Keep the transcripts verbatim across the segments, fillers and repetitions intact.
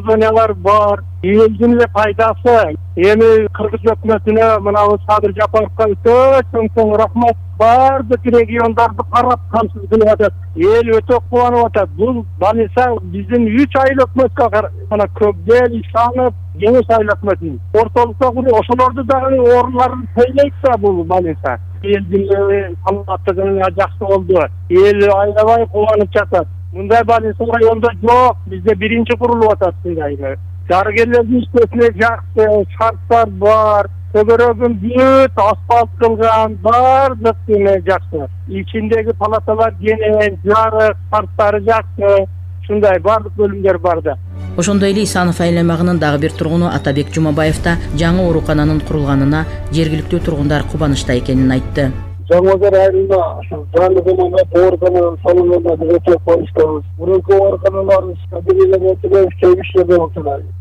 зоналар бар. Элдин эле пайдасы. Эми Кыргыз өкмөтүнө мынабу Садыр Жапаровго өтө чоң рахмат. Бардык региондарды карап камсыз кылып атат. Эл өтө кубанып атат. Бул Балиса биздин үч айыл өкмөткө мына Көкдел, Ишанов, Кеңеш айыл өкмөтүнүн ортолукта куруп ошолорду дагы орундарын тойлойт да бул Балиса. Элдин саламаттыгына жакшы болду. Эл аябай кубанып жатат. Мындай Балиса районунда жок. Бизде биринчи курулуп атат мындай. Дарыгерлердин иштесине жакшы шарттар бар. Көбөрөгүн бүт асфальт кылган, бардык эме жакшы. Ичиндеги палаталар кең, жарык, шарттары жакшы. Ушундай бардык бөлүмдөр бар да. Ошондой эле Исанов айланмагынын дагы бир тургуну Атабек Жумабаев да жаңы оорукананын курулганына жергиликтүү тургундар кубанычта экенин айтты. Жаңылдар айылында жаңы заманбап оорукана салынганына биз өтө кубанычтабыз. Мурунку ооруканалар стабилдүү болуп, чегиштер болуп,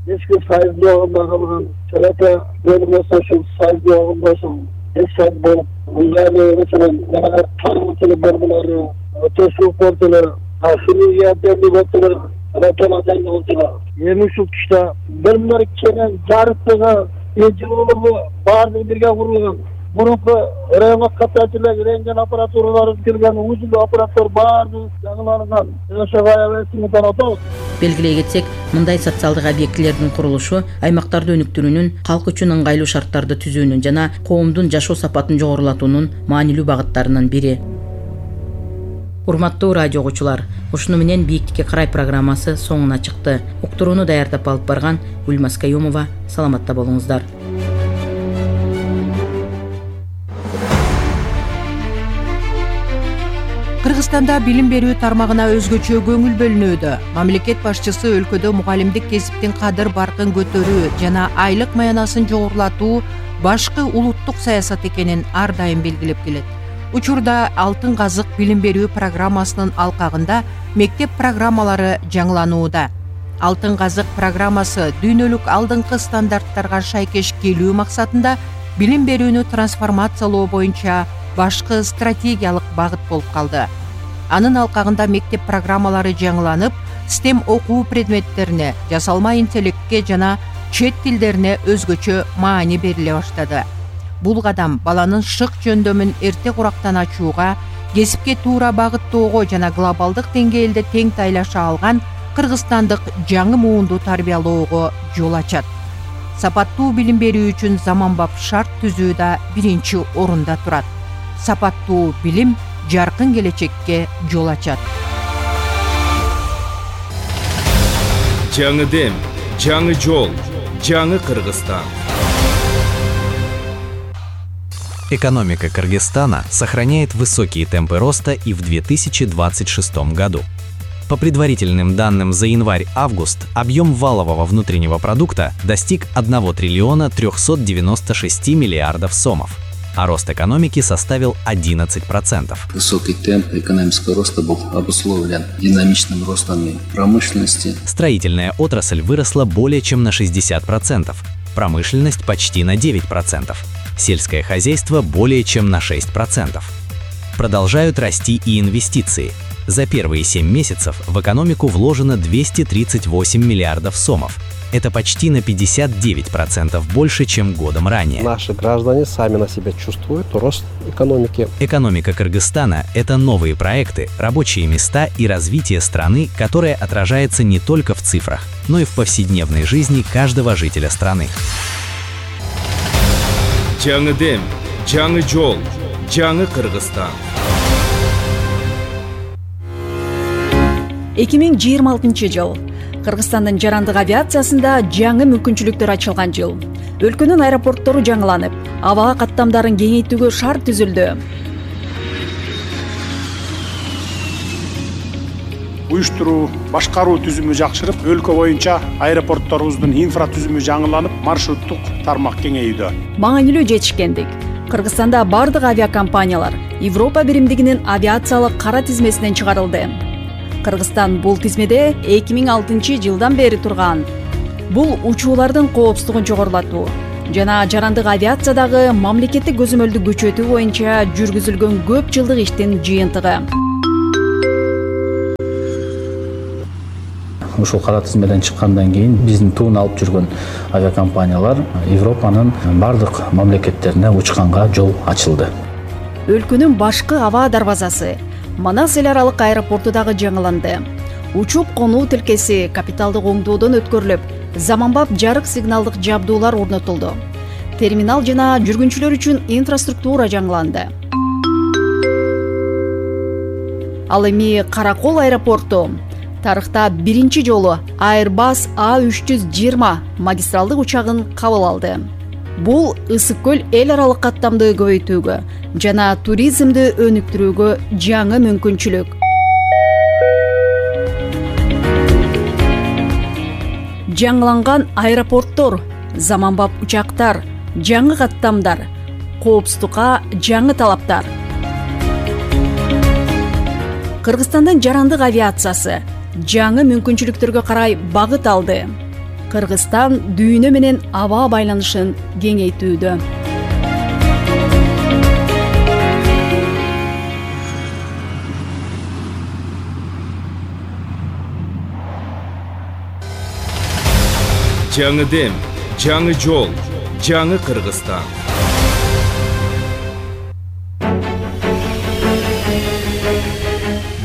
эски сайыз жогунда калган, чарата бөлүмөсү ушул сайыз жогунда ушул эч сайыз болуп, мындай маселен жанагы тармактар бөлмөлөрү өтө суук болду. Хирургия бөлүмү Эми ушул тушта бөлмөлөр кенен жарыктыгы, жылуулугу баардыгы бирге курулган. Мурунку районго катачылык рентген аппаратуралары кирген, узундуу аппараттар баардыгы жаңыланган. Ошого аябай сыймыктан атабыз. Белгилей кетсек, мындай социалдык объектилердин курулушу аймактарды өнүктүрүүнүн, калк үчүн ыңгайлуу шарттарды түзүүнүн жана коомдун жашоо сапатын жогорулатуунун маанилүү багыттарынын бири. Урматтуу радио угуучулар, ушуну менен Бийиктикке карай программасы соңуна чыкты. Уктурууну даярдап алып барган Гүлмаз Каюмова. Саламатта болуңуздар. Кыргызстанда билим берүү тармагына өзгөчө көңүл бөлүнүүдө. Мамлекет башчысы өлкөдө мугалимдик кесиптин кадыр баркын көтөрүү жана айлык маянасын жогорулатуу башкы улуттук саясат экенин ар дайым белгилеп келет. Учурда Алтын казык билим берүү программасынын алкагында мектеп программалары жаңыланууда. Алтын казык программасы дүйнөлүк алдыңкы стандарттарга шайкеш келүү максатында билим берүүнү трансформациялоо боюнча башкы стратегиялык багыт болуп калды. Анын алкагында мектеп программалары жаңыланып, STEM окуу предметтерине, жасалма интеллектке жана чет тилдерине өзгөчө маани бериле баштады. Бул кадам баланын шык жөндөмүн эрте курактан ачууга, кесипке туура багыттоого жана глобалдык деңгээлде тең тайлаша алган кыргызстандык жаңы муунду тарбиялоого жол ачат. Сапаттуу билим берүү үчүн заманбап шарт түзүү да биринчи орунда турат. Сапаттуу билим жаркын келечекке жол ачат. Жаңы дем, жаңы жол, жаңы Кыргызстан. Экономика Кыргызстана сохраняет высокие темпы роста и в две тысячи двадцать шестом году. По предварительным данным за январь-август объем валового внутреннего продукта достиг одного триллиона трёхсот девяноста шести миллиардов сомов, а рост экономики составил одиннадцать процентов. Высокий темп экономического роста был обусловлен динамичным ростом промышленности. Строительная отрасль выросла более чем на шестьдесят процентов, промышленность почти на девять процентов. Сельское хозяйство более чем на шесть процентов. Продолжают расти и инвестиции. За первые семь месяцев в экономику вложено двести тридцать восемь миллиардов сомов. Это почти на пятьдесят девять процентов больше, чем годом ранее. Наши граждане сами на себя чувствуют рост экономики. Экономика Кыргызстана – это новые проекты, рабочие места и развитие страны, которое отражается не только в цифрах, но и в повседневной жизни каждого жителя страны. Жаңы дем, жаңы жол, жаңы Кыргызстан. эки миң жыйырма алтынчы жыл. Кыргызстандын жарандык авиациясында жаңы мүмкүнчүлүктөр ачылган жыл. Өлкөнүн аэропорттору жаңыланып, абага каттамдарын кеңейтүүгө шарт түзүлдү. Уюштуруу, башкаруу түзүмү жакшырып, өлкө боюнча аэропортторубуздун инфра түзүмү жаңыланып, маршруттук тармак кеңейүүдө. Маанилүү жетишкендик. Кыргызстанда бардык авиакомпаниялар Европа биримдигинин авиациялык кара тизмесинен чыгарылды. Кыргызстан бул тизмеде эки миң алтынчы жылдан бери турган. Бул учуулардын коопсуздугун жогорулатуу жана жарандык авиациядагы мамлекеттик көзөмөлдү күчөтүү боюнча жүргүзүлгөн көп жылдык иштин жыйынтыгы. ушул кара тизмеден чыккандан кийин биздин туун алып жүргөн авиакомпаниялар Европанын бардык мамлекеттерине учканга жол ачылды. Өлкөнүн башкы аба дарбазасы Манас эл аралык аэропорту дагы жаңыланды. Учуп конуу тилкеси капиталдык оңдоодон өткөрүлүп, заманбап жарык сигналдык жабдуулар орнотулду. Терминал жана жүргүнчүлөр үчүн инфраструктура жаңыланды. Ал эми Каракол аэропорту тарыхта биринчи жолу Airbus А үч жүз жыйырма магистралдык учагын кабыл алды. Бул Ысык көл эл аралык каттамды көбөйтүүгө жана туризмди өнүктүрүүгө жаңы мүмкүнчүлүк. Жаңыланган аэропорттор, заманбап учактар, жаңы каттамдар, коопсуздукка жаңы талаптар. Кыргызстандын жарандык авиациясы жаңы мүмкүнчүлүктөргө карай багыт алды. Кыргызстан дүйнө менен аба байланышын кеңейтүүдө. Жаңы дем, жаңы жол, жаңы Кыргызстан.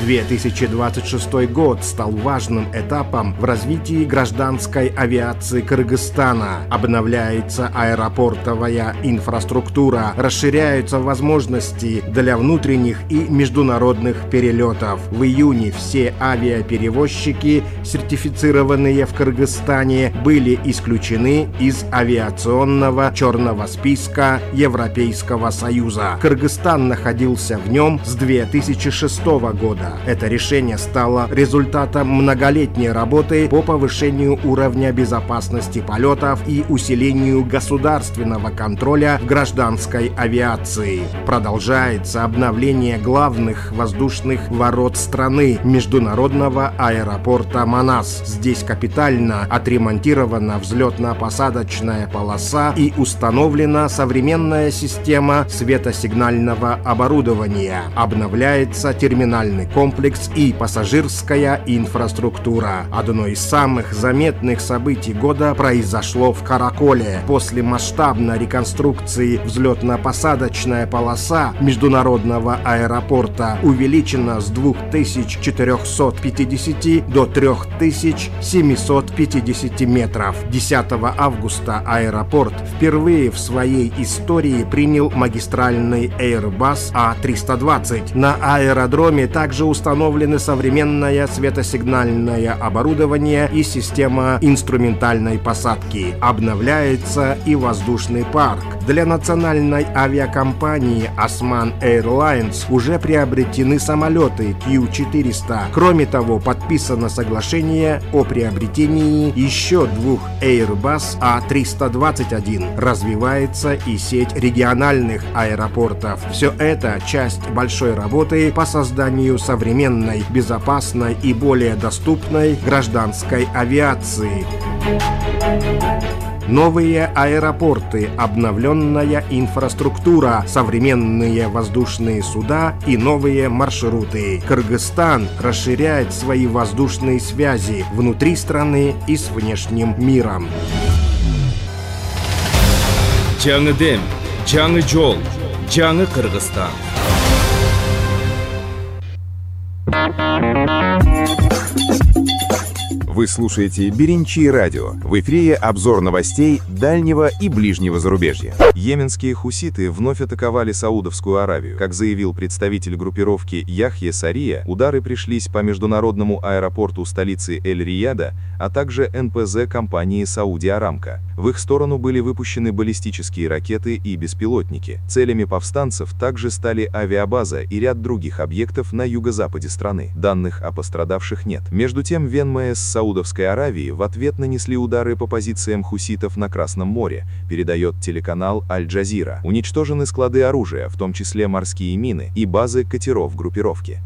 две тысячи двадцать шестой год стал важным этапом в развитии гражданской авиации Кыргызстана. Обновляется аэропортовая инфраструктура, расширяются возможности для внутренних и международных перелетов. В июне все авиаперевозчики, сертифицированные в Кыргызстане, были исключены из авиационного черного списка Европейского Союза. Кыргызстан находился в нем с две тысячи шестого года. Это решение стало результатом многолетней работы по повышению уровня безопасности полетов и усилению государственного контроля в гражданской авиации. Продолжается обновление главных воздушных ворот страны, международного аэропорта Манас. Здесь капитально отремонтирована взлетно-посадочная полоса и установлена современная система светосигнального оборудования. Обновляется терминальный комплекс комплекс и пассажирская инфраструктура. Одно из самых заметных событий года произошло в Караколе. После масштабной реконструкции взлетно-посадочная полоса международного аэропорта увеличена с двух тысяч четырёхсот пятидесяти до трёх тысяч семисот пятидесяти метров. десятого августа аэропорт впервые в своей истории принял магистральный Airbus А триста двадцать. На аэродроме также установлены современное светосигнальное оборудование и система инструментальной посадки. Обновляется и воздушный парк. Для национальной авиакомпании Osman Airlines уже приобретены самолеты Q четыреста. Кроме того, подписано соглашение о приобретении еще двух Airbus А триста двадцать один. Развивается и сеть региональных аэропортов. Все это часть большой работы по созданию современной, безопасной и более доступной гражданской авиации. Новые аэропорты, обновленная инфраструктура, современные воздушные суда и новые маршруты. Кыргызстан расширяет свои воздушные связи внутри страны и с внешним миром. Жаңы дем, жаңы жол, жаңы Кыргызстан. Вы слушаете Беренчи радио. В эфире обзор новостей дальнего и ближнего зарубежья. Йеменские хуситы вновь атаковали Саудовскую Аравию. Как заявил представитель группировки Яхья Сария, удары пришлись по международному аэропорту столицы Эль-Рияда, а также эн пэ зэ компании Сауди Арамко. В их сторону были выпущены баллистические ракеты и беспилотники. Целями повстанцев также стали авиабаза и ряд других объектов на юго-западе страны. Данных о пострадавших нет. Между тем, в эн эм эс Саудовской Аравии в ответ нанесли удары по позициям хуситов на Красном море, передает телеканал Аль-Джазира. Уничтожены склады оружия, в том числе морские мины и базы катеров группировки.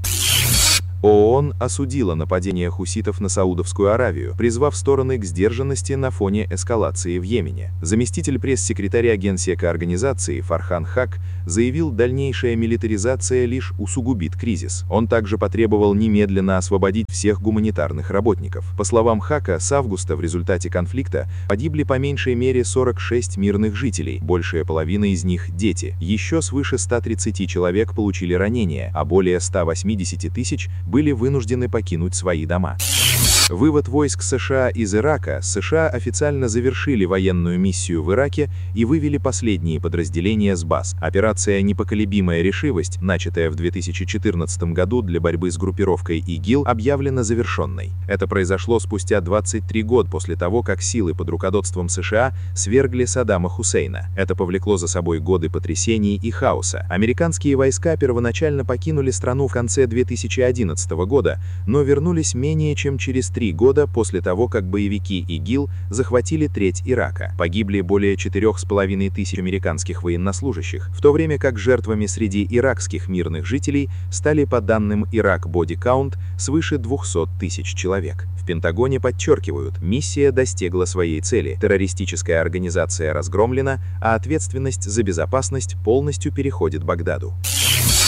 ООН осудила нападение хуситов на Саудовскую Аравию, призвав стороны к сдержанности на фоне эскалации в Йемене. Заместитель пресс-секретаря Генсека организации Фархан Хак заявил, дальнейшая милитаризация лишь усугубит кризис. Он также потребовал немедленно освободить всех гуманитарных работников. По словам Хака, с августа в результате конфликта погибли по меньшей мере сорок шесть мирных жителей, большая половина из них – дети. Еще свыше ста тридцати человек получили ранения, а более ста восьмидесяти тысяч были вынуждены покинуть свои дома. Вывод войск США из Ирака. США официально завершили военную миссию в Ираке и вывели последние подразделения с баз. Операция «Непоколебимая решимость», начатая в две тысячи четырнадцатом году для борьбы с группировкой ИГИЛ, объявлена завершенной. Это произошло спустя двадцать три года после того, как силы под руководством США свергли Саддама Хусейна. Это повлекло за собой годы потрясений и хаоса. Американские войска первоначально покинули страну в конце две тысячи одиннадцатого года, но вернулись менее чем через три года после того, как боевики ИГИЛ захватили треть Ирака. Погибли более четырёх с половиной тысяч американских военнослужащих, в то время как жертвами среди иракских мирных жителей стали, по данным Iraq Body Count, свыше двухсот тысяч человек. В Пентагоне подчеркивают, миссия достигла своей цели, террористическая организация разгромлена, а ответственность за безопасность полностью переходит Багдаду.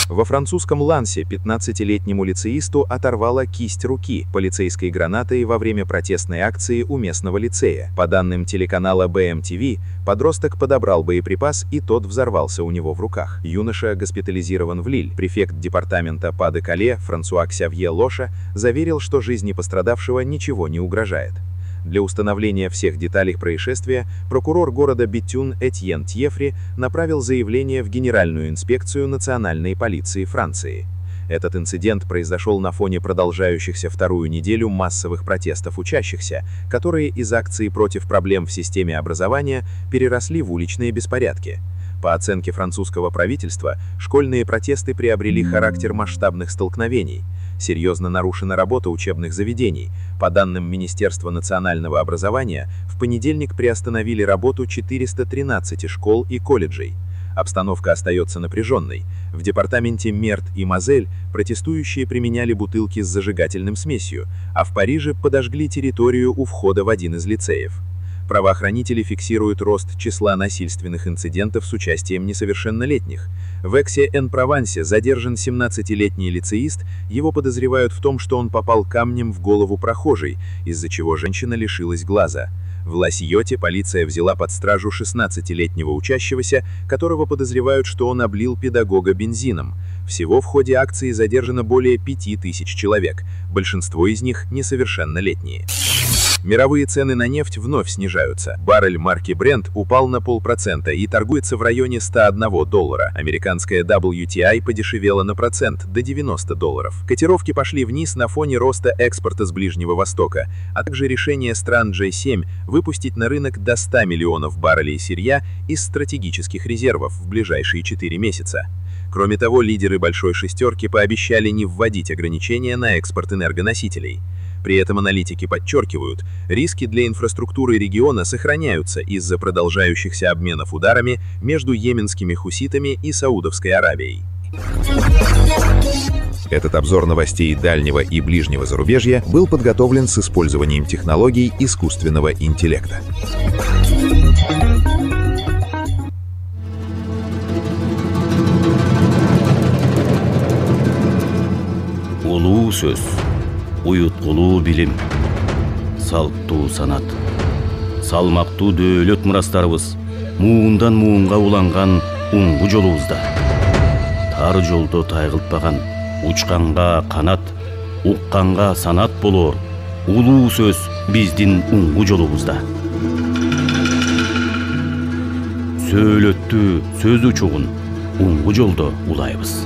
Во французском Лансе пятнадцатилетнему лицеисту оторвала кисть руки полицейской гранатой во время протестной акции у местного лицея. По данным телеканала би эм ти ви, подросток подобрал боеприпас, и тот взорвался у него в руках. Юноша госпитализирован в Лиль. Префект департамента Па-де-Кале Франсуа Ксавье Лоша заверил, что жизни пострадавшего ничего не угрожает. Для установления всех деталей происшествия прокурор города Бетюн Этьен Тьефри направил заявление в Генеральную инспекцию национальной полиции Франции. Этот инцидент произошел на фоне продолжающихся вторую неделю массовых протестов учащихся, которые из акций против проблем в системе образования переросли в уличные беспорядки. По оценке французского правительства, школьные протесты приобрели характер масштабных столкновений. Серьезно нарушена работа учебных заведений. По данным Министерства национального образования, в понедельник приостановили работу четыреста тринадцать школ и колледжей. Обстановка остается напряженной. В департаменте Мерт и Мозель протестующие применяли бутылки с зажигательным смесью, а в Париже подожгли территорию у входа в один из лицеев. Правоохранители фиксируют рост числа насильственных инцидентов с участием несовершеннолетних. В Эксе-эн-Провансе задержан семнадцатилетний лицеист, его подозревают в том, что он попал камнем в голову прохожей, из-за чего женщина лишилась глаза. В Ла-Сьоте полиция взяла под стражу шестнадцатилетнего учащегося, которого подозревают, что он облил педагога бензином. Всего в ходе акции задержано более пяти тысяч человек, большинство из них несовершеннолетние. Мировые цены на нефть вновь снижаются. Баррель марки Brent упал на полпроцента и торгуется в районе ста одного доллара. Американская дабл ю ти ай подешевела на процент до девяноста долларов. Котировки пошли вниз на фоне роста экспорта с Ближнего Востока, а также решение стран джей семь выпустить на рынок до ста миллионов баррелей сырья из стратегических резервов в ближайшие четыре месяца. Кроме того, лидеры Большой шестерки пообещали не вводить ограничения на экспорт энергоносителей. При этом аналитики подчеркивают, риски для инфраструктуры региона сохраняются из-за продолжающихся обменов ударами между йеменскими хуситами и Саудовской Аравией. Этот обзор новостей дальнего и ближнего зарубежья был подготовлен с использованием технологий искусственного интеллекта. Улуу сөз, уюткулуу билим, салттуу санат, салмактуу дөөлөт мурастарыбыз муундан муунга уланган уңгу жолубузда. Тар жолдо тайгылтпаган, учканга канат, укканга санат болоор улуу сөз биздин уңгу жолубузда. Сөөлөттүү сөз учугун уңгу жолдо улайбыз.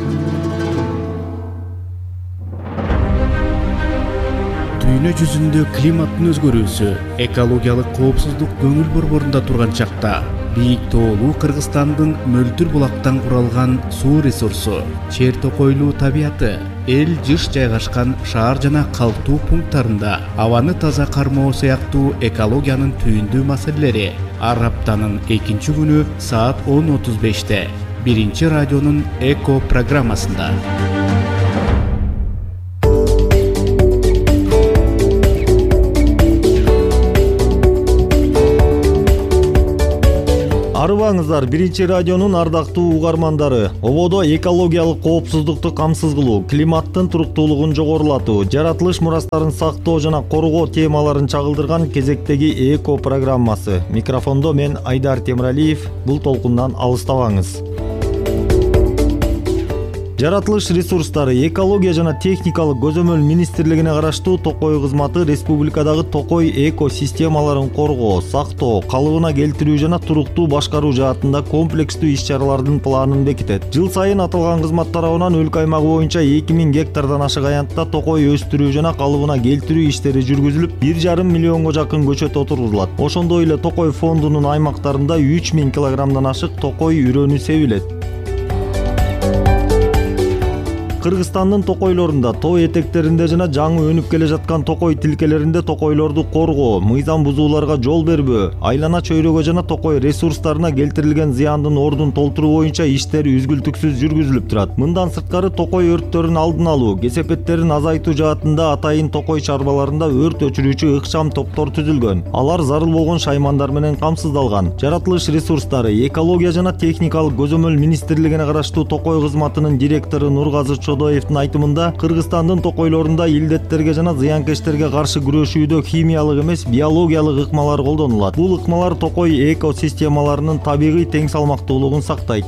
Дүйнө жүзүндө климаттын өзгөрүүсү, экологиялык коопсуздук көңүл борборунда турган чакта бийик тоолуу Кыргызстандын мөлтүр булактан куралган суу ресурсу, чер токойлуу табияты, эл жыш жайгашкан шаар жана калктуу пункттарында абаны таза кармоо сыяктуу экологиянын түйүндүү маселелери ар аптанын экинчи күнү саат он отуз беште биринчи радионун Эко программасында. Арыбаңыздар, Биринчи радионун ардактуу угармандары. Ободо экологиялык коопсуздукту камсыз кылуу, климаттын туруктуулугун жогорулатуу, жаратылыш мурастарын сактоо жана коргоо темаларын чагылдырган кезектеги эко программасы. Микрофондо мен Айдар Темиралиев. Бул толкундан алыстабаңыз. Жаратылыш ресурстары, экология жана техникалык көзөмөл министрлигине караштуу Токой кызматы республикадагы токой экосистемаларын коргоо, сактоо, калыбына келтирүү жана туруктуу башкаруу жаатында комплекстүү иш-чаралардын планын бекитет. Жыл сайын аталган кызмат тарабынан өлкө аймагы боюнча эки миң гектардан ашык аянтта токой өстүрүү жана калыбына келтирүү иштери жүргүзүлүп, бир жарым миллионго жакын көчөт отургузулат. Ошондой эле Токой фондунун аймактарында үч миң килограммдан ашык токой үрөнү себилет. Кыргызстандын токойлорунда, тоо этектеринде жана жаңы өнүп келе жаткан токой тилкелеринде токойлорду коргоо, мыйзам бузууларга жол бербөө, айлана чөйрөгө жана токой ресурстарына келтирилген зыяндын ордун толтуруу боюнча иштер үзгүлтүксүз жүргүзүлүп турат. Мындан сырткары токой өрттөрүн алдын алуу, кесепеттерин азайтуу жаатында атайын токой чарбаларында өрт өчүрүүчү ыкчам топтор түзүлгөн. Алар зарыл болгон шаймандар менен камсыздалган. Жаратылыш ресурстары, экология жана техникалык көзөмөл министрлигине караштуу Токой кызматынын директору Нургазы Чодоевдин айтымында, Кыргызстандын токойлорунда илдеттерге жана зыянкечтерге каршы күрөшүүдө химиялык эмес, биологиялык ыкмалар колдонулат. Бул ыкмалар токой экосистемаларынын табигый тең салмактуулугун сактайт.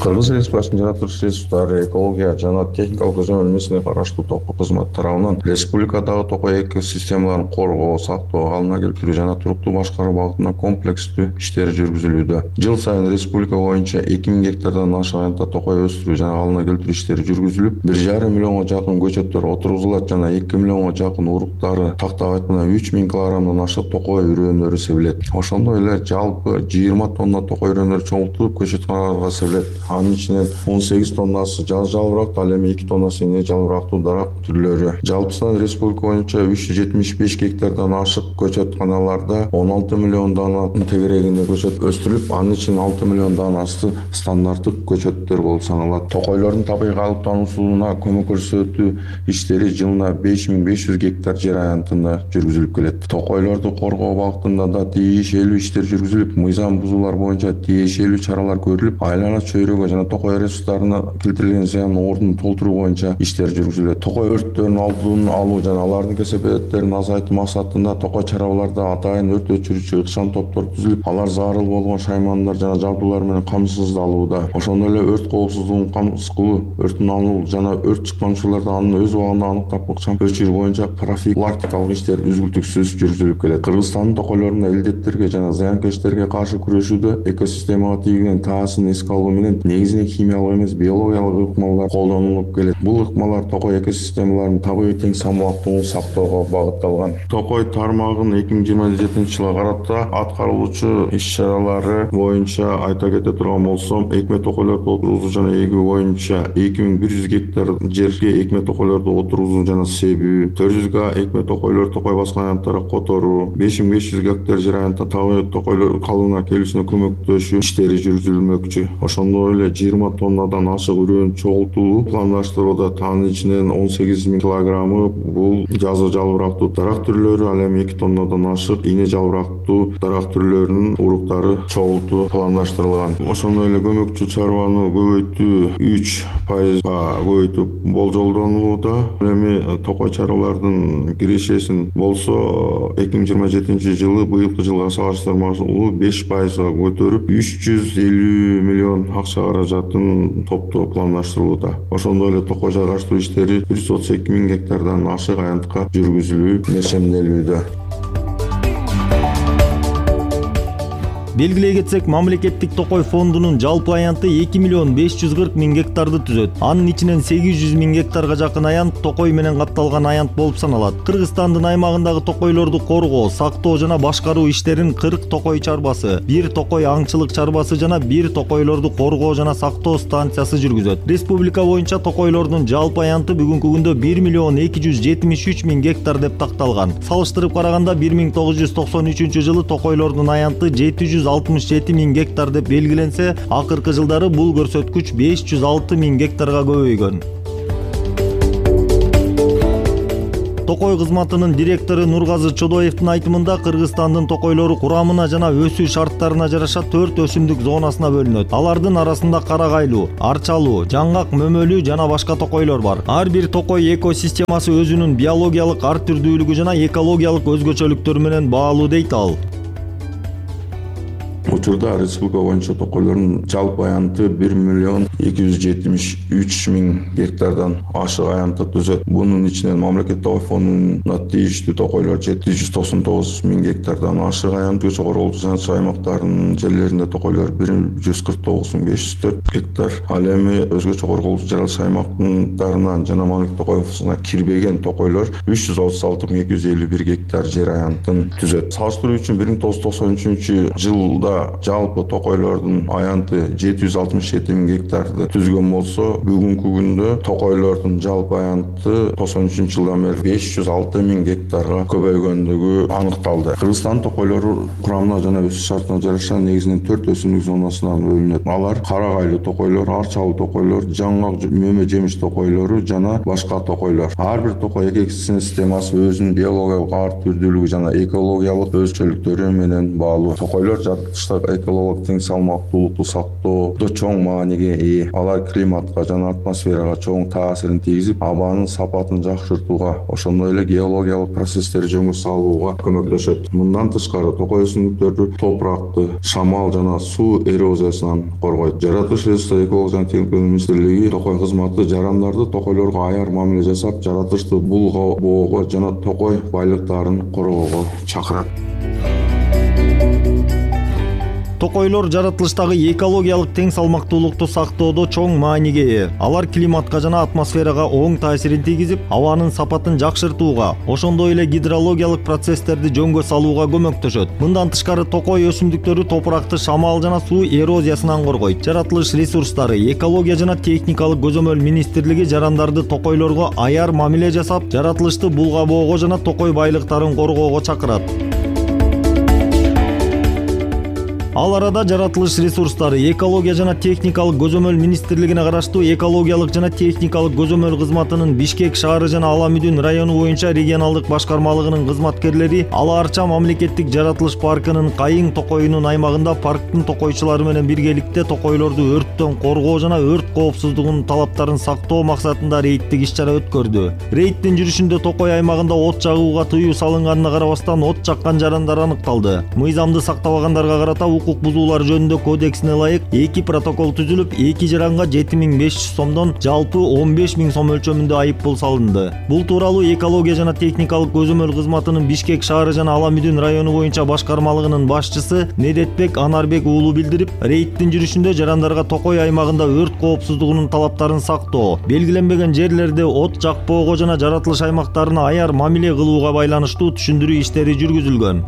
Кыргыз Республикасынын жаратылыш ресурстары, экология жана техникалык көзөмөл министрлигине караштуу Токой кызматы тарабынан республикадагы токой экосистемаларын коргоо, сактоо, калыбына келтирүү жана туруктуу башкаруу багытында комплекстүү иштер жүргүзүлүүдө. Жыл сайын республика боюнча эки миң гектардан ашык аянтта токой өстүрүү жана калыбына келтирүү иштери жүргүзүлүп, бир жарым миллионго жакын көчөттөр отургузулат жана эки миллионго жакын уруктары, тактап айтканда үч миң килограммдан ашык токой үрөөнөрү себилет. Ошондой эле жалпы жыйырма тонна токой үрөөнөрү чоңултулуп көчөтканаларга себилет. Анын ичинен он сегиз тоннасы жаз жалбырактуу, ал эми эки тоннасы эне жалбырактуу дарак түрлөрү. Жалпысынан республика боюнча үч жүз жетимиш беш гектардан ашык көчөтканаларда он алты миллион дананын тегерегинде көчөт өстүрүлүп, анын ичинен алты миллион данасы стандарттык көчөттөр болуп саналат. Токойлордун табигый калыптануусуна көмөк көрсөтүү иштери жылына беш миң беш жүз гектар жер аянтында жүргүзүлүп келет. Токойлорду коргоо багытында да тийишелүү иштер жүргүзүлүп, мыйзам бузуулар боюнча тийишелүү чаралар көрүлүп, айлана чөйрөгө жана токой ресурстарына келтирилген зыяндын ордун толтуруу боюнча иштер жүргүзүлөт. Токой өрттөрүнүн алдын алуу жана алардын кесепеттерин азайтуу максатында токой чарбаларда атайын өрт өчүрүүчү ыкчам топтор түзүлүп, алар зарыл болгон шаймандар жана жабдуулар менен камсыздалууда. Ошондой эле өрт коопсуздугун камсыз кылуу, өрттүн алуу жана өрт чыккан учурларда аны өз убагында аныктап ыкчам өчүрүү боюнча профилактикалык иштер үзгүлтүксүз жүргүзүлүп келет. Кыргызстандын токойлорунда илдеттерге жана зыянкечтерге каршы күрөшүүдө экосистемага тийген таасын эске алуу менен негизинен химиялык эмес, биологиялык ыкмалар колдонулуп келет. Бул ыкмалар токой экосистемаларынын табигый тең салмактуулугун сактоого багытталган. Токой тармагынын эки миң жыйырма жетинчи жылга карата аткарылуучу иш-чаралары боюнча айта кете турган болсом, экме токойлорду отургузуу жана эгүү боюнча эки миң бир жүз гектар жерге экме токойлорду отургузуу жана себүү, төрт жүз га экме токойлор токой баскан аянттарга которуу, беш миң беш жүз гектар жер аянтта табигый токойлор калыбына келүүсүнө көмөктөшүү иштери жүргүзүлмөкчү. Ошондой эле жыйырма тоннадан ашык үрөөн чогултуу пландаштырууда. Анын ичинен он сегиз миң килограммы бул жазы жалбырактуу дарак түрлөрү, ал эми эки тоннадан ашык эне жалбырактуу дарак түрлөрүнүн уруктары чогултуу пландаштырылган. Ошондой эле көмөкчү чарбаны көбөйтүү үч пайызга көбөйтүп болжолдонулууда. Эми токой чарбалардын кирешесин болсо эки миң жыйырма жетинчи жылы быйылкы жылга салыштырмалуу беш пайызга көтөрүп үч жүз элүү миллион акча каражатын топтоо пландаштырылууда. Ошондой эле токой жараштыруу иштери бир жүз отуз эки миң гектардан ашык аянтка жүргүзүлүү нешемделүүдө. Белгилей кетсек, мамлекеттик токой фондунун жалпы аянты эки миллион беш жүз кырк миң гектарды түзөт. Анын ичинен сегиз жүз миң гектарга жакын аянт токой менен капталган аянт болуп саналат. Кыргызстандын аймагындагы токойлорду коргоо, сактоо жана башкаруу иштерин кырк токой чарбасы, бир токой аңчылык чарбасы жана бир токойлорду коргоо жана сактоо станциясы жүргүзөт. Республика боюнча токойлордун жалпы аянты бүгүнкү күндө бир миллион эки жүз жетимиш үч миң гектар деп такталган. Салыштырып караганда бир миң тогуз жүз токсон үчүнчү жылы токойлордун аянты жети жүз алтымыш жети миң гектар деп белгиленсе, акыркы жылдары бул көрсөткүч беш жүз алты миң гектарга көбөйгөн. Токой кызматынын директору Нургазы Чодоевдин айтымында Кыргызстандын токойлору курамына жана өсүү шарттарына жараша төрт өсүмдүк зонасына бөлүнөт. Алардын арасында карагайлуу, арчалуу, жаңгак, мөмөлүү жана башка токойлор бар. Ар бир токой экосистемасы өзүнүн биологиялык ар түрдүүлүгү жана экологиялык өзгөчөлүктөрү менен баалуу дейт ал. Учурда республика боюнча токойлордун жалпы аянты бир миллион эки жүз жетимиш үч миң гектардан ашык аянты түзөт. Бунун ичинен мамлекет токой фондуна тийиштүү токойлор жети жүз токсон тогуз миң гектардан ашык аянт, чогорулук аймактарынын жерлеринде токойлор бир жүз кырк тогуз миң беш жүз төрт гектар. Ал эми өзгө чогорулук жаралыш аймактарынан жана мамлекет токой фондуна кирбеген токойлор үч жүз отуз алты миң эки жүз элүү бир гектар жер аянтын түзөт. Салыштыруу үчүн бир миң тогуз жүз токсон үчүнчү жылда жалпы токойлордун аянты жети жүз алтымыш жети миң гектарды түзгөн болсо, бүгүнкү күндө токойлордун жалпы аянты токсон үчүнчү жылдан бери беш жүз алты миң гектарга көбөйгөндүгү аныкталды. Кыргызстан токойлору курамына жана өсүү шартына жараша негизинен төрт өсүмдүк зонасына бөлүнөт. Алар карагайлуу токойлор, арчалуу токойлор, жаңгак, мөмө жемиш токойлору жана башка токойлор. Ар бир токой экосистемасы өзүнүн биологиялык ар түрдүүлүгү жана экологиялык өзгөчөлүктөрү менен баалуу. Токойлор жаратылышта экологиялык тең салмактуулукту сактоодо чоң мааниге ээ. Алар климатка жана атмосферага чоң таасирин тийгизип, абанын сапатын жакшыртууга, ошондой эле геологиялык процесстерди жөнгө салууга көмөктөшөт. Мындан тышкары токой өсүмдүктөрдү топуракты шамал жана суу эрозиясынан коргойт. Жаратылыш ресурстары экология жана техника министрлиги токой кызматы жарандарды токойлорго аяр мамиле жасап, жаратылышты булгоого жана токой байлыктарын коргоого чакырат. Токойлор жаратылыштагы экологиялык тең салмактуулукту сактоодо чоң мааниге ээ. Алар климатка жана атмосферага оң таасирин тийгизип, абанын сапатын жакшыртууга, ошондой эле гидрологиялык процесстерди жөнгө салууга көмөктөшөт. Мындан тышкары токой өсүмдүктөрү топуракты шамал жана суу эрозиясынан коргойт. Жаратылыш ресурстары, экология жана техникалык көзөмөл министрлиги жарандарды токойлорго аяр мамиле жасап, жаратылышты булгабоого жана токой байлыктарын коргоого чакырат. Ал арада жаратылыш ресурстары, экология жана техникалык көзөмөл министрлигине караштуу экологиялык жана техникалык көзөмөл кызматынын Бишкек шаары жана Аламүдүн району боюнча регионалдык башкармалыгынын кызматкерлери Ала Арча мамлекеттик жаратылыш паркынын Кайың токойунун аймагында парктын токойчулары менен биргеликте токойлорду өрттөн коргоо жана өрт коопсуздугунун талаптарын сактоо максатында рейдтик иш-чара өткөрдү. Рейдтин жүрүшүндө токой аймагында от жагууга тыюу салынганына карабастан от жаккан жарандар аныкталды. Мыйзамды сактабагандарга карата укук бузуулар жөнүндө кодексине ылайык эки протокол түзүлүп, эки жаранга жети миң беш жүз сомдон жалпы он беш миң сом өлчөмүндө айыппул салынды. Бул тууралуу экология жана техникалык көзөмөл кызматынын Бишкек шаары жана Аламүдүн району боюнча башкармалыгынын башчысы Недетбек Анарбек уулу билдирип, рейдтин жүрүшүндө жарандарга токой аймагында өрт коопсуздугунун талаптарын сактоо, белгиленбеген жерлерде от жакпоого жана жаратылыш аймактарына аяр мамиле кылууга байланыштуу түшүндүрүү иштери жүргүзүлгөн.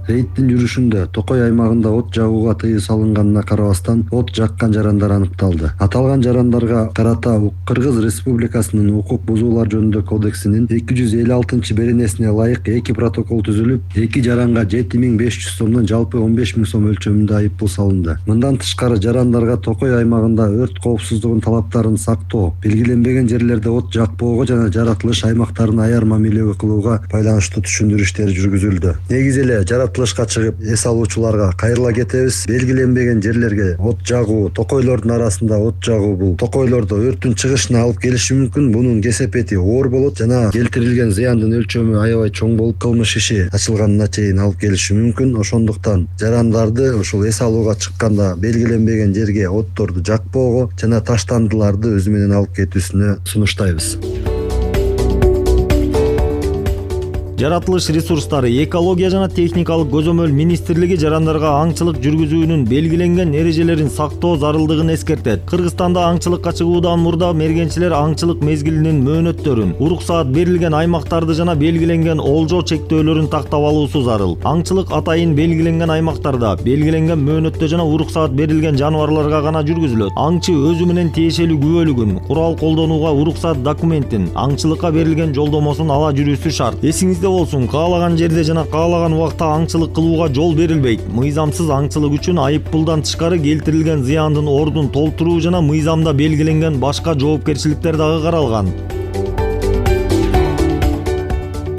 Рейдтин жүрүшүндө токой аймагында от жагууга тыюу салынганына карабастан от жаккан жарандар аныкталды. Аталган жарандарга карата Кыргыз Республикасынын укук бузуулар жөнүндө кодексинин эки жүз элүү алтынчы беренесине ылайык эки протокол түзүлүп, эки жаранга жети миң беш жүз сомдон жалпы он беш миң сом өлчөмүндө айыппул салынды. Мындан тышкары жарандарга токой аймагында өрт коопсуздугунун талаптарын сактоо, белгиленбеген жерлерде от жакпоого жана жаратылыш аймактарына аяр мамиле кылууга байланыштуу түшүндүрүү иштери жүргүзүлдү. Негизи эле жаратылышка чыгып эс алуучуларга кайрыла кетебиз. Белгиленбеген жерлерге от жагуу, токойлордун арасында от жагуу бул токойлордо өрттүн чыгышына алып келиши мүмкүн. Бунун кесепети оор болот жана келтирилген зыяндын өлчөмү аябай чоң болуп, кылмыш иши ачылганына чейин алып келиши мүмкүн. Ошондуктан жарандарды ушул эс алууга чыкканда белгиленбеген жерге отторду жакпоого жана таштандыларды өзү менен алып кетүүсүнө сунуштайбыз. Жаратылыш ресурстары, экология жана техникалык көзөмөл министрлиги жарандарга аңчылык жүргүзүүнүн белгиленген эрежелерин сактоо зарылдыгын эскертет. Кыргызстанда аңчылыкка чыгуудан мурда мергенчилер аңчылык мезгилинин мөөнөттөрүн, уруксаат берилген аймактарды жана белгиленген олжо чектөөлөрүн тактап алуусу зарыл. Аңчылык атайын белгиленген аймактарда, белгиленген мөөнөттө жана уруксаат берилген жаныбарларга гана жүргүзүлөт. Аңчы өзү менен тиешелүү күбөлүгүн, курал колдонууга уруксаат документин, аңчылыкка берилген жолдомосун ала жүрүүсү шарт. Эсиңизде болсун, каалаган жерде жана каалаган убакта аңчылык кылууга жол берилбейт. Мыйзамсыз аңчылык үчүн айыппулдан тышкары келтирилген зыяндын ордун толтуруу жана мыйзамда белгиленген башка жоопкерчиликтер дагы каралган.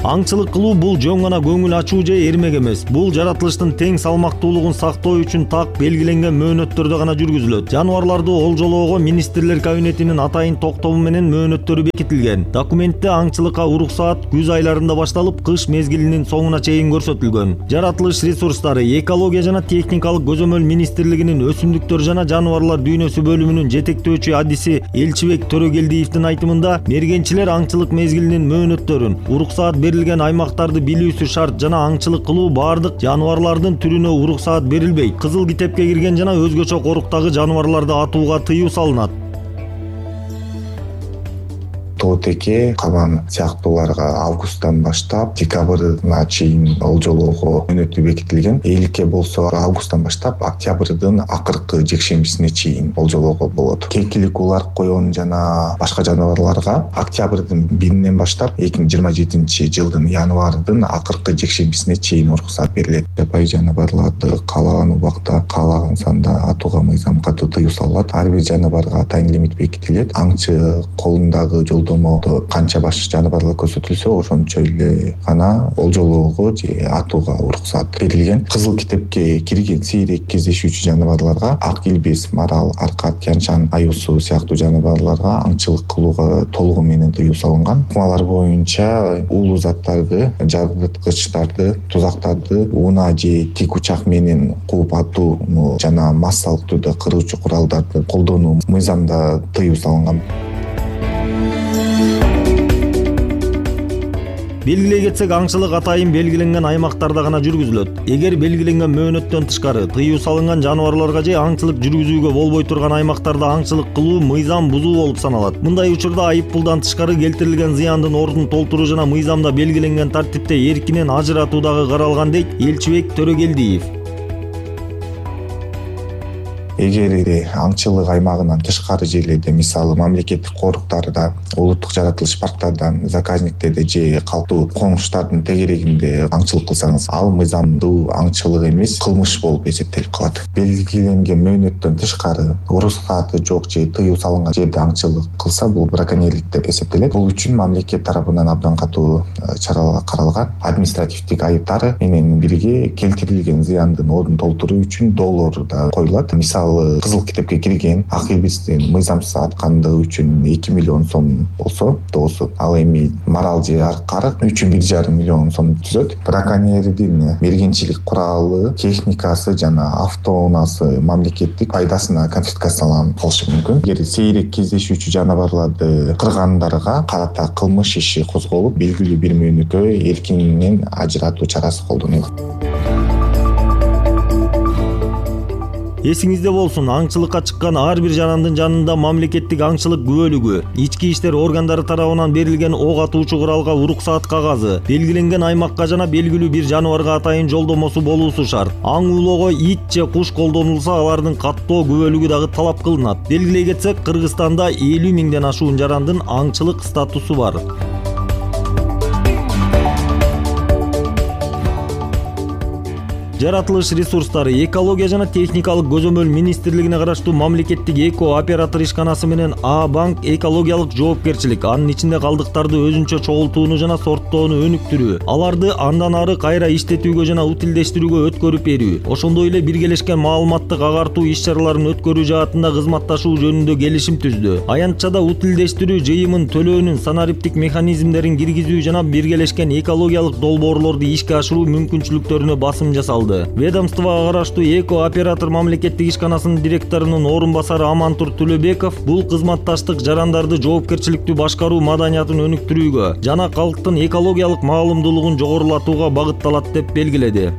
Аңчылык кылуу бул жөн гана көңүл ачуу же эрмек эмес. Бул жаратылыштын тең салмактуулугун сактоо үчүн так белгиленген мөөнөттөрдө гана жүргүзүлөт. Жаныбарларды олжолоого министрлер кабинетинин атайын токтому менен мөөнөттөрү бекитилген. Документте аңчылыкка уруксаат күз айларында башталып, кыш мезгилинин соңуна чейин көрсөтүлгөн. Жаратылыш ресурстары, экология жана техникалык көзөмөл министрлигинин өсүмдүктөр жана жаныбарлар дүйнөсү бөлүмүнүн жетектөөчү адиси Элчибек Төрөгелдиевдин айтымында, мергенчилер аңчылык мезгилинин мөөнөттөрүн, уруксаат берилген аймактарды билүүсү шарт жана аңчылык кылуу баардык жаныбарлардын түрүнө уруксаат берилбейт. Кызыл китепке кирген жана өзгөчө коруктагы жаныбарларды атууга тыюу салынат. Тоотеке, кабан сыяктууларга августтан баштап декабрына чейин олжолоого мөөнөтү бекитилген. Эйликке болсо августтан баштап октябрдын акыркы жекшембисине чейин олжолоого болот. Кекилик улар, коён жана башка жаныбарларга октябрдын биринен баштап эки миң жыйырма жетинчи жылдын январдын акыркы жекшембисине чейин уруксаат берилет. Жапайы жаныбарларды каалаган убакта, каалаган санда атууга мыйзам катуу тыюу салынат. Ар бир жаныбарга атайын лимит бекитилет. Аңчы колундагы жолдомодо канча баш жаныбарлар көрсөтүлсө, ошончо эле гана олжолоого же атууга уруксаат берилген. Кызыл китепке кирген сейрек кездешүүчү жаныбарларга ак илбес, марал, аркат, тянь-шань, аюусу сыяктуу жаныбарларга аңчылык кылууга толугу менен тыюу салынган. Ыкмалар боюнча уулуу заттарды, жарыткычтарды, тузактарды унаа же тик учак менен кууп атууну жана массалык түрдө кыруучу куралдарды колдонуу мыйзамда тыюу салынган. Белгилей кетсек, аңчылык атайын белгиленген аймактарда гана жүргүзүлөт. Эгер белгиленген мөөнөттөн тышкары тыюу салынган жаныбарларга же аңчылык жүргүзүүгө болбой турган аймактарда аңчылык кылуу мыйзам бузуу болуп саналат. Мындай учурда айып пулдан тышкары келтирилген зыяндын ордун толтуруу жана мыйзамда белгиленген тартипте эркинен ажыратуу дагы каралган, дейт Элчибек Төрөгелдиев. Эгер аңчылык аймагынан тышкары жерлерде, мисалы мамлекеттик коруктарда, улуттук жаратылыш парктардан, заказниктерде же калктуу коңуштардын тегерегинде аңчылык кылсаңыз, ал мыйзамдуу аңчылык эмес, кылмыш болуп эсептелип калат. Белгиленген мөөнөттөн тышкары уруксааты жок же тыюу салынган жерде аңчылык кылса, бул браконьерлик деп эсептелет. Бул үчүн мамлекет тарабынан абдан катуу чаралар каралган. Административдик айыптары менен бирге келтирилген зыяндын ордун толтуруу үчүн доллар да коюлат. Мисалы кызыл китепке кирген ак илбестин мыйзамсыз аткандыгы үчүн эки миллион сом болсо доосу, ал эми марал же аркарык үчүн бир жарым миллион сом түзөт. Браконьердин мергенчилик куралы, техникасы жана автоунаасы мамлекеттик пайдасына конфискацияланып калышы мүмкүн. Эгер сейрек кездешүүчү жаныбарларды кыргандарга карата кылмыш иши козголуп, белгилүү бир мөөнөткө эркинен ажыратуу чарасы колдонулат. Эсиңизде болсун, аңчылыкка чыккан ар бир жарандын жанында мамлекеттик аңчылык күбөлүгү, ички иштер органдары тарабынан берилген ок атуучу куралга уруксаат кагазы, белгиленген аймакка жана белгилүү бир жаныбарга атайын жолдомосу болуусу шарт. Аң улоого ит же куш колдонулса, алардын каттоо күбөлүгү дагы талап кылынат. Белгилей кетсек, Кыргызстанда элүү миңден ашуун жарандын аңчылык статусу бар. Жаратылыш ресурстары, экология жана техникалык көзөмөл министрлигине караштуу мамлекеттик эко оператор ишканасы менен А-банк экологиялык жоопкерчилик, анын ичинде калдыктарды өзүнчө чогултууну жана сорттоону өнүктүрүү, аларды андан ары кайра иштетүүгө жана утилдештирүүгө өткөрүп берүү, ошондой эле биргелешкен маалыматтык агартуу иш-чараларын өткөрүү жаатында кызматташуу жөнүндө келишим түздү. Аянтчада утилдештирүү жыйымын төлөөнүн санариптик механизмдерин киргизүү жана биргелешкен экологиялык долбоорлорду ишке ашыруу мүмкүнчүлүктөрүнө басым жасалды. Ведомствого караштуу эко оператор мамлекеттик ишканасынын директорунун орун басары Амантур Төлөбеков бул кызматташтык жарандарды жоопкерчиликтүү башкаруу маданиятын өнүктүрүүгө жана калктын экологиялык маалымдуулугун жогорулатууга багытталат деп белгиледи.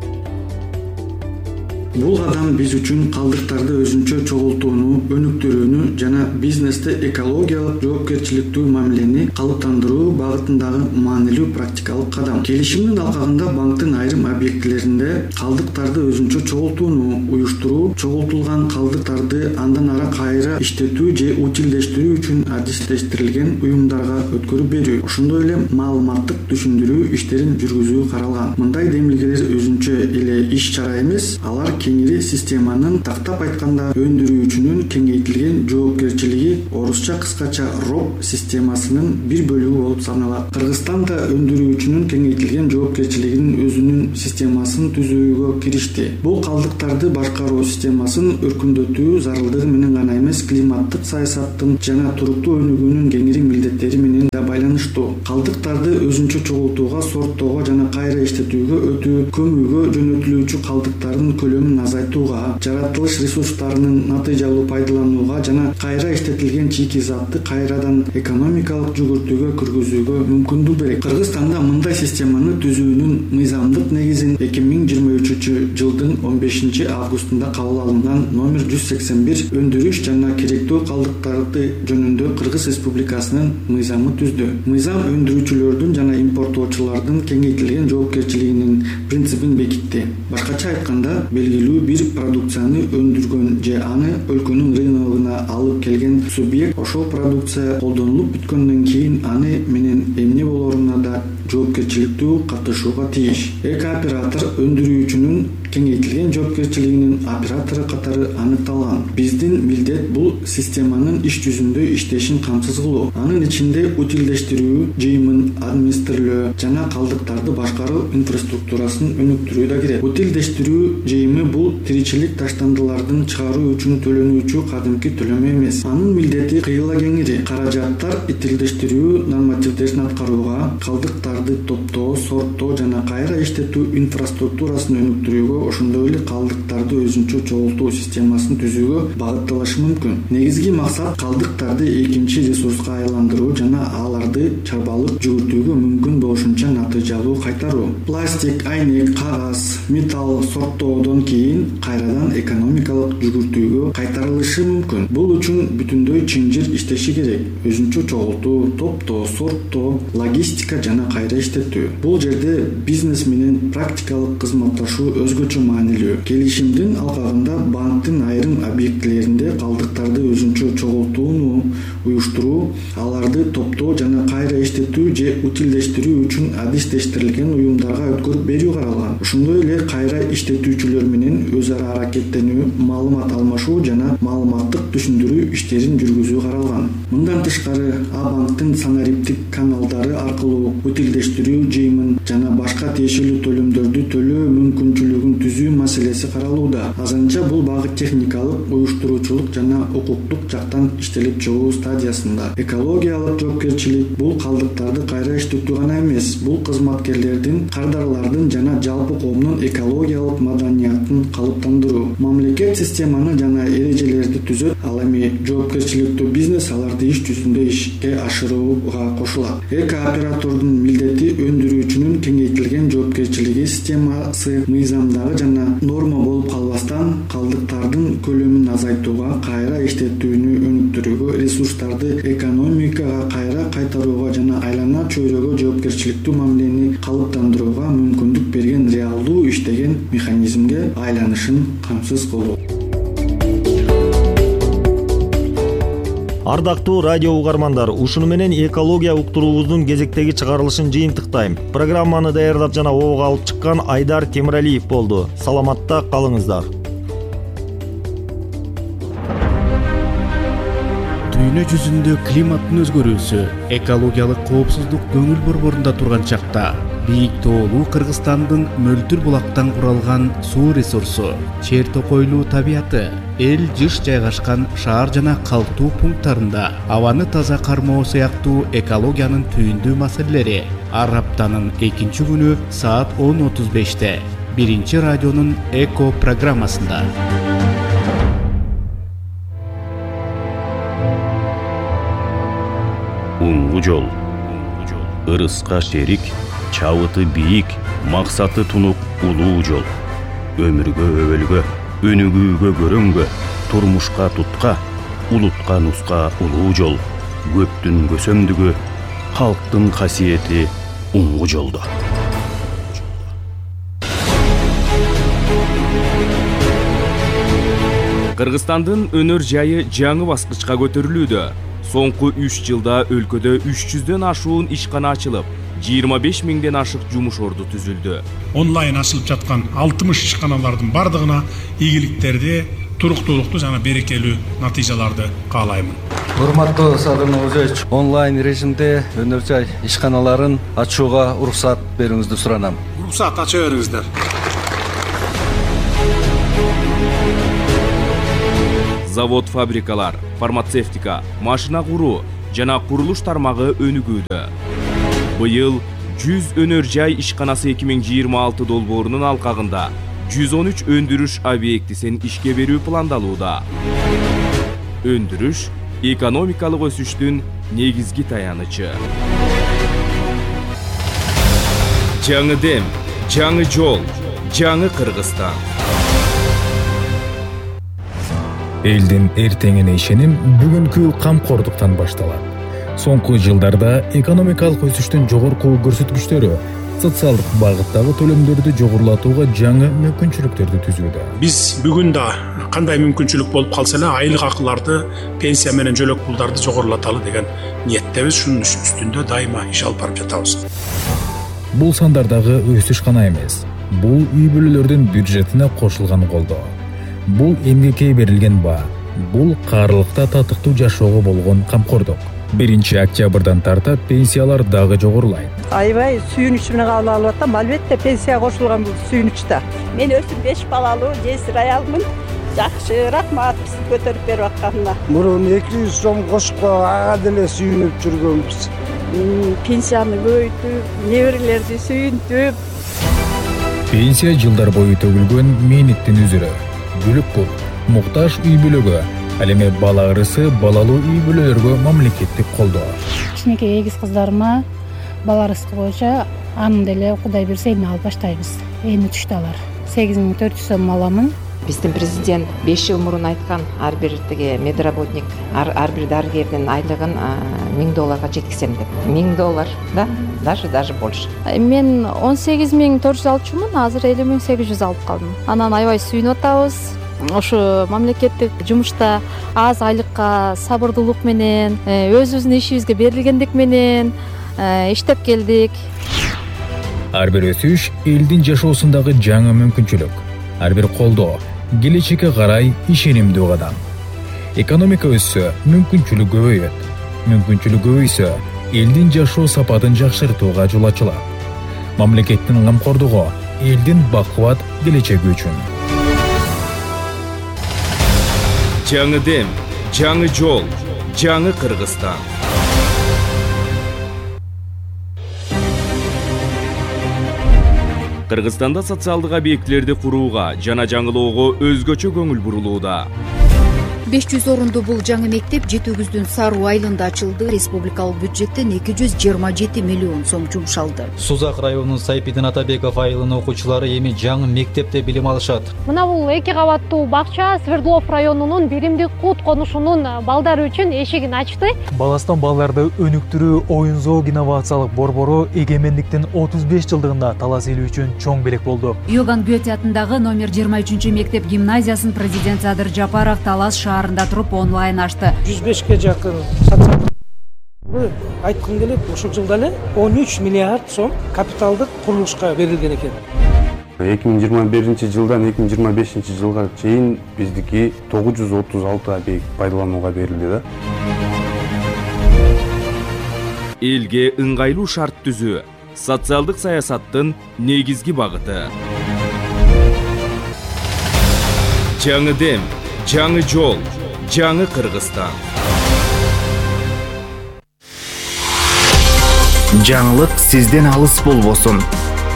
Бул кадам биз үчүн калдыктарды өзүнчө чогултууну өнүктүрүүнү жана бизнесте экологиялык жоопкерчиликтүү мамилени калыптандыруу багытындагы маанилүү практикалык кадам. Келишимдин алкагында банктын айрым объектилеринде калдыктарды өзүнчө чогултууну уюштуруу, чогултулган калдыктарды андан ары кайра иштетүү же утилдештирүү үчүн адистештирилген уюмдарга өткөрүп берүү, ошондой эле маалыматтык түшүндүрүү иштерин жүргүзүү каралган. Мындай демилгелер өзүнчө эле иш-чара эмес, алар кеңири системанын тактап айтканда өндүрүүчүнүн кеңейтилген жоопкерчилиги, орусча кыскача роп системасынын бир бөлүгү болуп саналат. Кыргызстан да өндүрүүчүнүн кеңейтилген жоопкерчилигинин өзүнүн системасын түзүүгө киришти. Бул калдыктарды башкаруу системасын өркүндөтүү зарылдыгы менен гана эмес, климаттык саясаттын жана туруктуу өнүгүүнүн кеңири милдеттери менен да байланыштуу. Калдыктарды өзүнчө чогултууга, сорттоого жана кайра иштетүүгө өтүү, көмүүгө жөнөтүлүүчү калдыктардын көлөмүн азайтууга, жаратылыш ресурстарынын натыйжалуу пайдаланууга жана кайра иштетилген чийки затты кайрадан экономикалык жүгүртүүгө киргизүүгө мүмкүндүк берет. Кыргызстанда мындай системаны түзүүнүн мыйзамдык негизин эки миң жыйырма үчүнчү жылдын он бешинчи августунда кабыл алынган номер жүз сексен бир өндүрүш жана керектүү калдыктарды жөнүндө Кыргыз Республикасынын мыйзамы түздү. Мыйзам өндүрүүчүлөрдүн жана импорттоочулардын кеңейтилген жоопкерчилигинин принцибин бекитти. Башкача айтканда, белгилүү бир продукцияны өндүргөн же аны өлкөнүн рыногуна алып келген субъект ошол продукция колдонулуп бүткөндөн кийин аны менен эмне болоруна да жоопкерчиликтүү катышууга тийиш. Эки оператор өндүрүүчүнүн кеңейтилген жоопкерчилигинин оператору катары аныкталган. Биздин милдет бул системанын иш жүзүндө иштешин камсыз кылуу. Анын ичинде утилдештирүү, жыйымын администрирлөө жана калдыктарды башкаруу инфраструктурасын өнүктүрүү да кирет. Утилдештирүү жыйымы бул тиричилик таштандылардын чыгаруу үчүн төлөнүүчү кадимки төлөмө эмес. Анын милдети кыйла кеңири. Каражаттар утилдештирүү нормативдерин аткарууга, калдыктарды топтоо, сорттоо жана кайра иштетүү инфраструктурасын өнүктүрүүгө, ошондой эле калдыктарды өзүнчө чогултуу системасын түзүүгө багытталышы мүмкүн. Негизги максат калдыктарды экинчи ресурска айландыруу жана аларды чарбалып жүгүртүүгө мүмкүн болушунча натыйжалуу кайтаруу. Пластик, айнек, кагаз, металл сорттоодон кийин кайрадан экономикалык жүгүртүүгө кайтарылышы мүмкүн. Бул үчүн бүтүндөй чынжыр иштеши керек. Өзүнчө чогултуу, топтоо, сорттоо, логистика жана кайра иштетүү. Бул жерде бизнес менен практикалык кызматташуу өзгөчө маанилүү. Келишимдин алкагында банктын айрым объектилеринде калдыктарды өзүнчө чогултууну уюштуруу, аларды топтоо жана кайра иштетүү же утилдештирүү үчүн адистештирилген уюмдарга өткөрүп берүү каралган. Ошондой эле кайра иштетүүчүлөр менен өз ара аракеттенүү, маалымат алмашуу жана маалыматтык түшүндүрүү иштерин жүргүзүү каралган. Мындан тышкары, А-банктын санариптик каналдары аркылуу утилдештирүү жыйымын жана башка тиешелүү төлөмдөрдү төлөө мүмкүнчүлүгүн түзүү маселеси каралууда. Азанча бул багыт техникалык, уюштуруучулук жана укуктук жактан иштелип чыгуу стадиясында. Экологиялык жоопкерчилик бул калдыктарды кайра иштетүү гана эмес, бул кызматкерлердин, кардарлардын жана жалпы коомдун экологиялык маданиятын калыптандыруу. Мамлекет системаны жана эрежелерди түзөт, ал эми жоопкерчиликтүү бизнес аларды иш жүзүндө ишке ашырууга кошулат. Эки оператордун милдети өндүрүүчүнүн кеңейтилген жоопкерчилиги системасы мыйзамдагы жана норма болуп калбастан, калдыктардын көлөмүн азайтууга, кайра иштетүүнү өнүктүрүүгө, ресурстарды экономикага кайра кайтарууга жана айлана чөйрөгө жоопкерчиликтүү мамилени калыптандырууга мүмкүндүк берген реалдуу иштеген механизмге айланышын камсыз кылуу. Ардактуу радио угармандар, ушуну менен экология уктуруубуздун кезектеги чыгарылышын жыйынтыктайм. Программаны даярдап жана обого алып чыккан Айдар Темиралиев болду. Саламатта калыңыздар. Дүйнө жүзүндө климаттын өзгөрүүсү, экологиялык коопсуздук көңүл борборунда турган чакта бийик тоолуу Кыргызстандын мөлтүр булактан куралган суу ресурсу, чер токойлуу табияты, эл жыш жайгашкан шаар жана калктуу пункттарында абаны таза кармоо сыяктуу экологиянын түйүндүү маселелери ар аптанын экинчи күнү саат он отуз беште биринчи радионун Эко программасында. Уңгу жол, ырыска шерик, чабыты бийик, максаты тунук улуу жол. Өмүргө өбөлгө, өнүгүүгө көрөнгө, турмушка тутка, улутка нуска улуу жол. Көптүн көсөмдүгү, калктын касиети уңгу жолдо. Кыргызстандын өнөр жайы жаңы баскычка көтөрүлүүдө. Соңку үч жылда өлкөдө үч жүздөн ашуун ишкана ачылып, жыйырма беш миңден ашык жумуш орду түзүлдү. Онлайн ачылып жаткан алтымыш ишканалардын бардыгына ийгиликтерди, туруктуулукту жана берекелүү натыйжаларды каалаймын. Урматтуу Садыр Нуржаевич, онлайн режимде өнөр жай ишканаларын ачууга уруксат берүүңүздү суранам. Уруксат ача бериңиздер. Завод, фабрикалар, фармацевтика, машина куруу жана курулуш тармагы өнүгүүдө. Быйыл жүз өнөр жай ишканасы эки миң жыйырма алты долбоорунун алкагында жүз он үч өндүрүш объектисин ишке берүү пландалууда. Өндүрүш экономикалык өсүштүн негизги таянычы. Жаңы дем, жаңы жол, жаңы Кыргызстан. Элдин эртеңине ишеним бүгүнкү камкордуктан башталат. Соңку жылдарда экономикалык өсүштүн жогорку көрсөткүчтөрү социалдык багыттагы төлөмдөрдү жогорулатууга жаңы мүмкүнчүлүктөрдү түзүүдө. Биз бүгүн да кандай мүмкүнчүлүк болуп калса эле айлык акыларды, пенсия менен жөлөк пулдарды жогорулаталы деген ниеттебиз. Шунун үстүндө дайыма иш алып барып жатабыз. Бул сандардагы өсүш гана эмес. Бул үй бүлөлөрдүн бюджетине кошулган колдоо. Бул эмгекке берилген баа. Бул каарылыкта татыктуу жашоого болгон камкордук. биринчи октябрдан тарта пенсиялар дагы жогорулайт. Аябай сүйүнүч менен кабыл алып атам. Албетте пенсия кошулган бул сүйүнүчтө. Мен өзүм беш балалуу, жесир аялмын. Жакшы, рахмат бизди көтөрүп берип атканына. Мурун эки жүз сом кошкон ага деле сүйүнүп жүргөнбүз. Пенсияны көбөйтүп, неберелерди сүйүнтүп. Пенсия жылдар бою төгүлгөн мээнеттин үзүрү. Бүлүк бул муктаж үй бүлөгө, ал эми бала ырысы балалуу үй бүлөлөргө мамлекеттик колдоо. Кичинекей эгиз кыздарыма бала ырыскы боюнча анын деле Кудай берсе эми алып баштайбыз. Эми түштү алар. сегиз миң төрт жүз сом аламын. Биздин президент беш жыл мурун айткан ар бир тиги медработник, ар, ар бир дарыгердин айлыгын миң долларга жеткизем деп. миң доллар, да? Даже даже больше. Мен он сегиз миң төрт жүз алчумун, азыр элүү миң сегиз жүз алып калдым. Анан аябай сүйүнүп атабыз. Ошо мамлекеттик жумушта аз айлыкка сабырдуулук менен, өзүбүздүн ишибизге берилгендик менен иштеп келдик. Ар бир өсүш элдин жашоосундагы жаңы мүмкүнчүлүк. Ар бир колдоо келечекке карай ишенимдүү кадам. Экономика өссө, мүмкүнчүлүк көбөйөт. Мүмкүнчүлүк көбөйсө, элдин жашоо сапатын жакшыртууга жол ачылат. Мамлекеттин камкордугу элдин бакубат келечеги үчүн. Жаңы дем, жаңы жол, жаңы Кыргызстан. Кыргызстанда социалдык объектилерди курууга жана жаңылоого өзгөчө көңүл бурулууда. беш жүз орундуу бул жаңы мектеп жети өгүздүн Саруу айылында ачылды. Республикалык бюджеттен эки жүз жыйырма жети миллион сом жумшалды. Сузак районунун Сайпидин Атабеков айылынын окуучулары эми жаңы мектепте билим алышат. Мына бул эки кабаттуу бакча Свердлов районунун Биримдик Кут конушунун балдары үчүн эшигин ачты. Баластан балдарды өнүктүрүү оюн зоог инновациялык борбору эгемендиктин отуз беш жылдыгында талас эли үчүн чоң белек болду. Иоганн Гёте атындагы номер жыйырма үчүнчү мектеп гимназиясын президент Садыр Жапаров Талас шаарында туруп онлайн ачты. жүз бешке жакын айткым келет, ушул жылда эле он үч миллиард сом капиталдык курулушка берилген экен. эки миң жыйырма биринчи жылдан эки миң жыйырма бешинчи жылга чейин биздики тогуз жүз отуз алты объект пайдаланууга берилди да. Элге ыңгайлуу шарт түзүү социалдык саясаттын негизги багыты. Жаңы дем, жаңы жол, жаңы Кыргызстан. Жаңылык сизден алыс болбосун.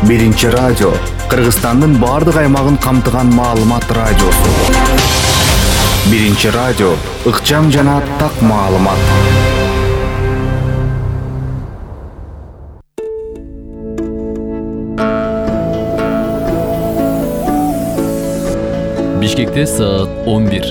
Биринчи радио Кыргызстандын бардык аймагын камтыган маалымат радиосу. Биринчи радио ыкчам жана так маалымат. Бишкекте саат он бир.